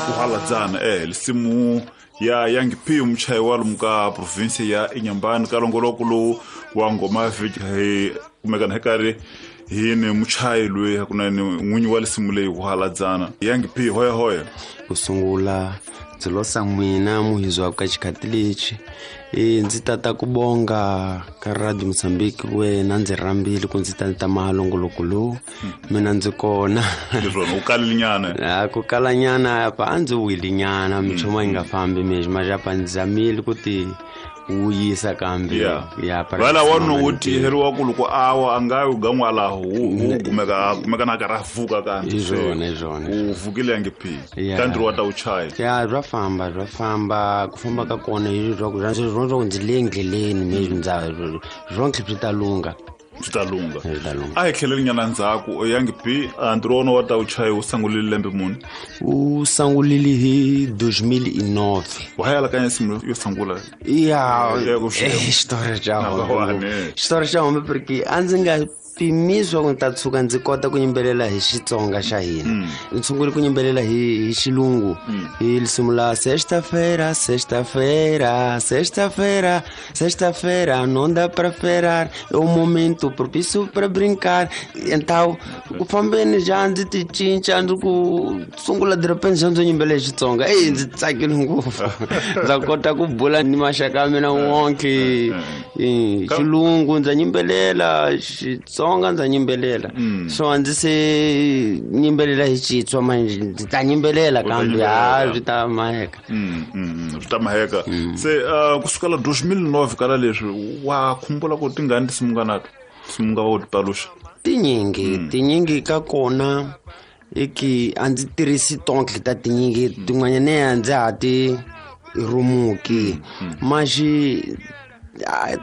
Kuhaladzana lisimu ya Young P, muchayi wa lomu ka province ya Inhambane, ka longoloko lowu wa ngoma vhiki hi kumekana hi karhi hi ni muchayi loyi hakunene n'winyi wa lisimu leyi Kuhaladzana. Young P, hoya hoya. Ku sungula ndzi losa n'wina muhizwa ka xikhati lexi, ndzi tata ku bonga ka Radio Mozambique wena ndzi rhambile ku ndzi ta ta mahalongoloko lowu mina ndzi kona. Leswona u kalile nyana? A ku kalanyana apa, a ndzi wile nyana, minchumu yi nga fambi mexi maxapa, ndzi zamile ku ti wuyisa kambe. Ya. Vala wanu wo tiheriwa ku loko awa a nga yi gan'walaho wu kumeka na karhi a vuka kambe. Hi swona, hi swona. U vukile, Young P? Yeah. Ka ntirho wa ta u chaya? Ya, bya famba, bya famba. Ku famba ka kona hi swa ku swa ku ndzi le ndleleni me ndza swonke swi ta lungha. Swi ta lungha. Swi ta lungha. A hi tlheleli nyana ndzhaku, Young P. A ntirho wa wona wa ta u chaya wu sungulile lembe muni? U sungulile hi 2009. Wa ha alakanya nsimu yo sungula? Ya. Ya, ku swi- Xitori xa Na hombe. wani. Xitori xa hombe, porque a ndzi nga pimisi ku ni ta tshuka ndzi kota ku yimbelela hi Xitsonga xa hina. Ndzi sungule ku yimbelela hi Xilungu, hi risimu la "Sexta-feira, sexta-feira, sexta-feira, sexta-feira, não dá pra esperar, é o momento propício pra brincar". Então ku fambeni ja ndzi ti cinca, ndzi ku sungula de repente xa ndzi yimbelela hi Xitsonga. Eyi, ndzi tsakile ngopfu, ndza kota ku bula ni maxaka ya mina wonke. Xilungu ndza yimbelela, Xitsonga ndza yimbelela, so a ndzi se yimbelela hi Xitswa manje, ndzi ta yimbelela kambe ha yimbelela. Swi ta maheka. Swi ta maheka. Se kusukela 2009 kala leswi, wa khumbula ku tingani tinsimu nga nato, tinsimu nga wo ti paluxa? Tinyingi, tinyingi ka kona i ki a ndzi tirhisi tonke ta tinyingi, tin'wanyana a ndzi ha ti rumuki maxi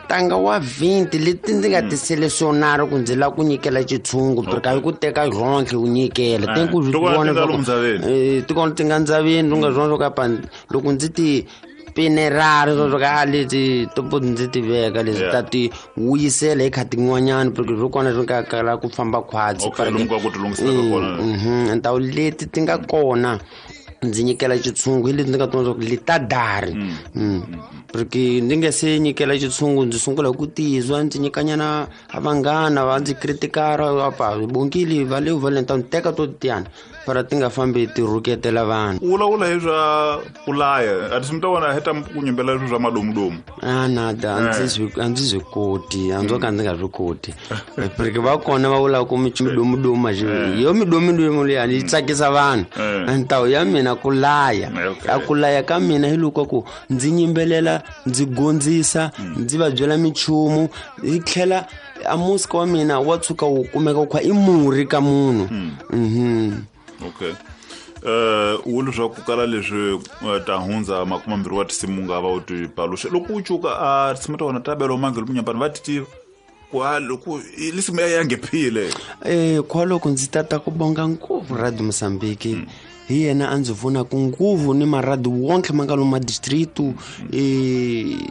tanga wa 20 leti ndzi nga ti selesionari ku ndzi lava ku nyikela xitshungu, porque a yi ku teka ronke u nyikela te ku Ti kona vona ti nga swa ku- lomu ndzaveni? Ti kona ti nga ndzaveni, u nga swona swo ka loko ndzi ti pinerari swo ka a leti topo ndzi ti veka leswi ta ti wuyisela hi kha tin'wanyana, porque swo kona swi nga kala ku famba khwatsi. Okay, lomu ka ku ti lunghisela ka kona. Ntawu leti ti nga kona ndzi nyikela xitshungu hi leti ndzi nga tona swa ku leta dari. Porque ndzi nga se nyikela xitshungu, ndzi sungula hi ku tizwa, ndzi nyikanyana a vanghana, va ndzi critikara apa bongile valeu vale, ni ta ni teka to tiyana para ti nga fambi ti rhuketela vanhu. U vulavula hi swa ku laya, a tinsimu ta wena heta ku nyimbelela swilo swa madomudomu? A nada, a ndzi swi koti, a ndzo ka ndzi nga swi koti, porque va kona va vulaka ku midomudomu maxi yo midomudomu liyani yi tsakisa vanhu. Ntawu ya mina ku laya. A ku laya ka mina hi loko ku ndzi yimbelela, ndzi gondzisa, ndzi va byela minchumu, yi tlhela a musika wa mina wa tshuka wu kumeka wu kha i murhi ka munhu. Okay, u leswaku kala leswi ta hundza 20 wa tinsimu nga va u ti paluxa, loko u cuka a tinsimu ta wena ta belo mange lomu nyambani, va ti tiva ku a loko lisimu ya yangephile? Kwaloko ndzi tata ku bonga ngopfu Radio Mozambique, hi yena a ndzi pfunaka nguvu ni maradi wonke ma nga lomu madistritu,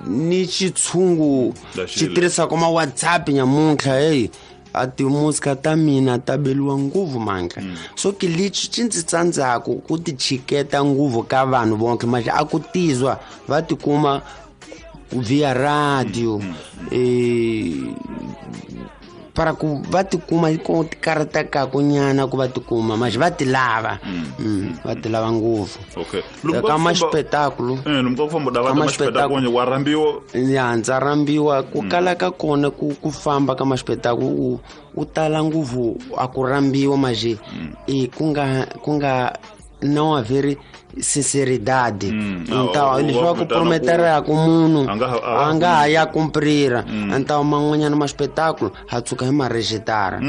ni xitshungu xi tirhisaka ma WhatsApp nyamuntlha. Heyi, a timusika ta mina ta beliwa nguvu manka, so ke lexi xi ndzi tsandzaku ku ti chiketa nguvu ka vanhu vonke manje, a ku tizwa va tikuma via radio, para ku va tikuma ko ti karhatakaku nyana ku va tikuma manje, va ti lava. Va ti lava ngopfu. Ka maxipetakulu. Lomu ka ku famba dava Ka maxipetakulu wa rhambiwa? Ya, ndza rhambiwa. Ku kala ka kona ku famba ka maxipetakulu u tala ngopfu a ku rhambiwa manje, e ku nga não haver sinceridade. Então Ah, leswi va ku va vitana prometeraka munhu A nga ha- a a nga ha ya kumprira. Então man'wanyana maxipetakulu ha tshuka hi marejitara,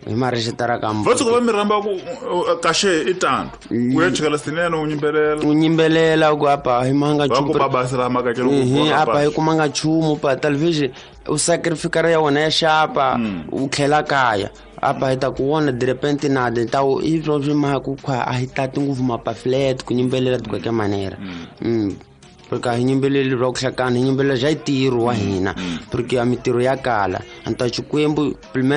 hi marejitara ka Va tshuka va mi rhamba ku kaxe i tanto u ya chikela sinene u yimbelela? U yimbelela ku apa hi manga Va ku nchumu. babasi ra makakelo. Apa hi kumanga nchumu pa talvez u sacrificar ya wena ya xapa, u tlhela kaya apa hi ta ku vona de repente nada. Então i swo swi maka ku kha a hi tati ngopfu mapaflet ku yimbelela de qualquer maneira, porque a hi yimbeleli ra ku hlakana, hi yimbelela xa ntirho wa hina, porque a mintirho ya kala anta Xikwembu pelo menos.